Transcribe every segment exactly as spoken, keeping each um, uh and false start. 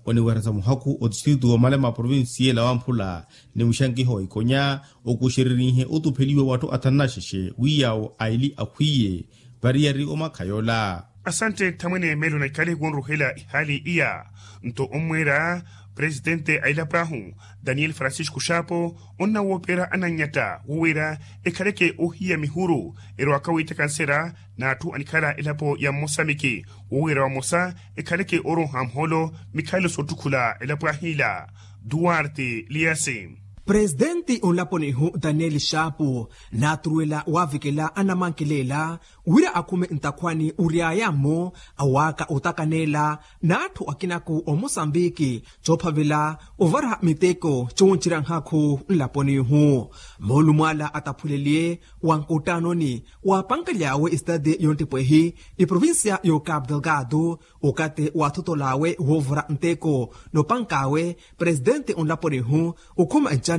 Oniweresa muhakhu otistritu womala maprovinsiyela wamphula ni muxankiho wa ikonya okuxererihe otupheliwa w'atthu athanu na xexe wi yaawo aili akhwiye variyari omakhayola. Asantte nthamwene melo na ikhale wonruhela ihaali iya. Nto ommweera presitente a elapo ahu daniel francisco xaapo onnawooperya ananyatta wowira ekhaleke ohiya mihuru erowaka wiitthaka nsera n'atthu anikhala elapo ya mmosamiki wowira wamosa ekhaleke oroha muholo mikhalo soottukhula elapo ahiila. Duarte liasi. Presitenti onlaponihu daniel xaapu naaturuwela waavikela anamankelela wira akhume ntakhwani oryaya-mo awaaka otakaneela n'atthu akinaku omosambiki coophavela ovara miteko cooncerya nhakhu nlaponihu. Moolumo ala ataphuleliye wa nkuttanoni waapankaly'awe esitati yonttipwehi eprovincia y'ocapu delgado okathi waathotol'awe woovara nteko n'opank'awe presitenti onlaponihu okhuma ncana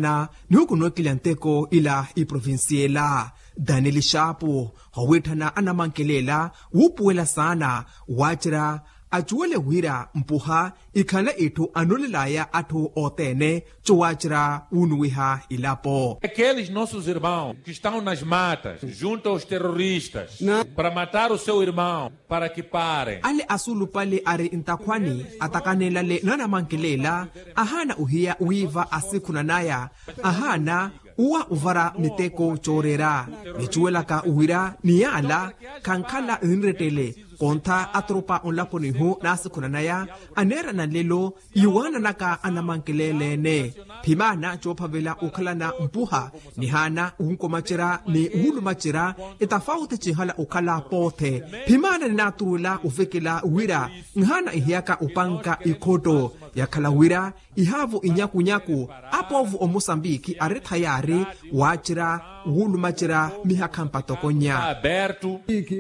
nihuku nookelya nteko ila eprovincia ela. Daniel xaapu howiitthana anamankelela wuupuwela saana waacerya acuwele wira mpuha ikhanle itthu anolel'aya atthu othene cowaacerya wuunuwiha ilapo. Aqueles nossos irmãos que estão nas matas junto aos terroristas para matar o seu irmão para que parem. Ale asulupale ari ntakhwani atakaneelale n'anamankelela ahaana ohiya wiiva asikhunanaya ahaana uwa ovara miteko cooreera. Nicuwelaka wira ni yaala khankhala ninrettele kontha atoropa onlaponihu naasikhunanaya aneerana nlelo iwaananaka anamankelele-ene. Phimaana coophavela okhalana mpuha nihaana wunkomacerya ni wuulumacerya etafauti cihala okhala poothe. Phimaana ninaaturuwela ovekela wira nhaana ihiyaka opanka ikhotto yakhala wira ihaavo inyakunyaku apoovo omosambiki ari thayaari waacerya wuulumacerya mihakha mpattokonya.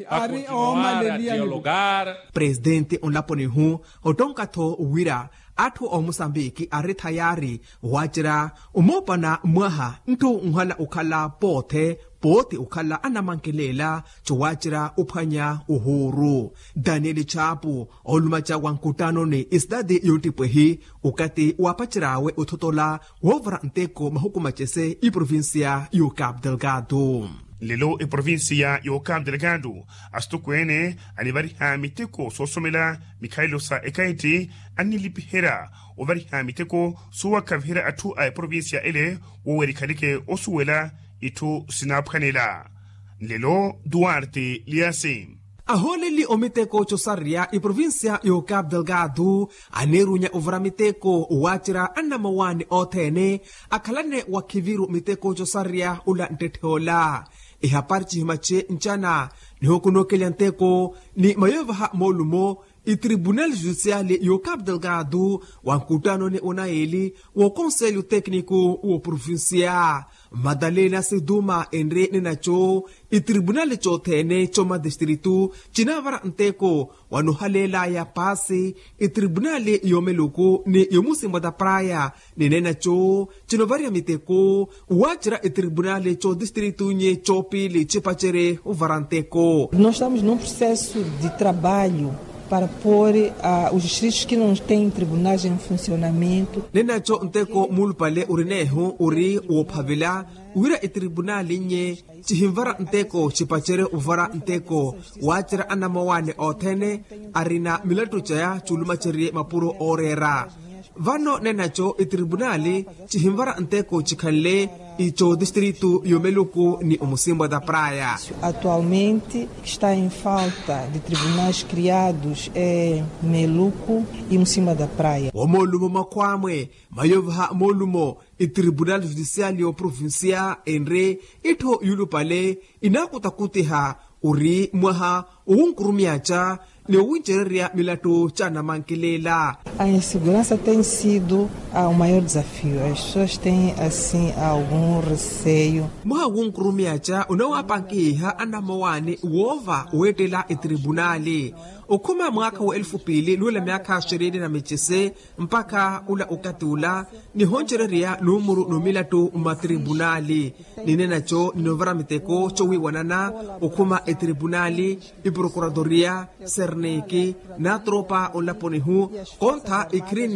Ari omaleliya. Presitenti onlaponihu ottonka-tho wira atthu a omosambiki ari thayaari waacerya omoopana mwaha ntthu nhala okhala poothe pooti okhala anamankelela cowaacerya ophwanya ohuuru. Daniel chapu olumaca wa nkuttanoni esitati yoottipwehi okathi waapacery'awe othotola woovara nteko mahuku macese eprovincia y'ocapu delgado. Nlelo eprovincia y'ocapu delgado asitokweene anivariha miteko soosomela mikhalelo sa ekaitti annilipiherya ovariha miteko sowakhaviherya atthu a eprovincia ele wowerikhaleke osuwela itthu sinaaphwanela. Nlelo duarte liasi. Ahooleli omiteko cosareya eprovincia y'ocapu delgado aneerunya ovara miteko waacerya annamowaani othene akhalane wakhiviru miteko cosareya ola nttetthe ola. Ehapari cihimace ncana nihukunookelya nteko ni mayovaha moolumo etribunali judiciali y'ocapu delgado wa nkuttanoni onayeeli w'okonselho tecnico w'oprovincia. Madalena siduma enre ninaco etribunali cothene comadistritu cinavara nteko wanohaleelaya paasi etribunali y'omeluku ni y'omusimba da praya. Ninenaco cinovariha miteko waacerya etribunali codistritu nye copili cipacere ovara nteko. Nós estamos num processo de trabalho para pôr os distritos que não têm tribunais em funcionamento. Nenaco nteko mulupale urinehu uri woophavela wira etribunali nye cihinvara nteko cipacere ovara nteko waacerya anamowaani othene arina milattu caya culumacerye mapuro ooreera. Vano nenaco etribunali cihinvara nteko cikhanle ico distritu y'omeluku ni omusimbo da praya. Atualmente está em falta de tribunais criados em meluku e musimba da praya. Womolumo makhwamwe mayovaha molumo etribunali judiciali y'oprovincia enre ittho yulupale inaakutakutiha ori mwaha owunkurumyaca ni owuncererya milattu ca namankelela. A inseguransa tem sido o maior desafio as pessoas tem assim algum receio. Mwaha wunkurumyaca onawaapankihiha anamowaani woova weettela etribunali okhuma mwaakha wa elufu piili nuula myaakha xerini na micese mpakha ula okathi ula nihoncererya numuru n'omilattu mmatribunali. Ninenaco ninovara miteko cowiiwanana okhuma etribunali eprokuratoria serniki n'atropa onlaponihu kontha ekhirini.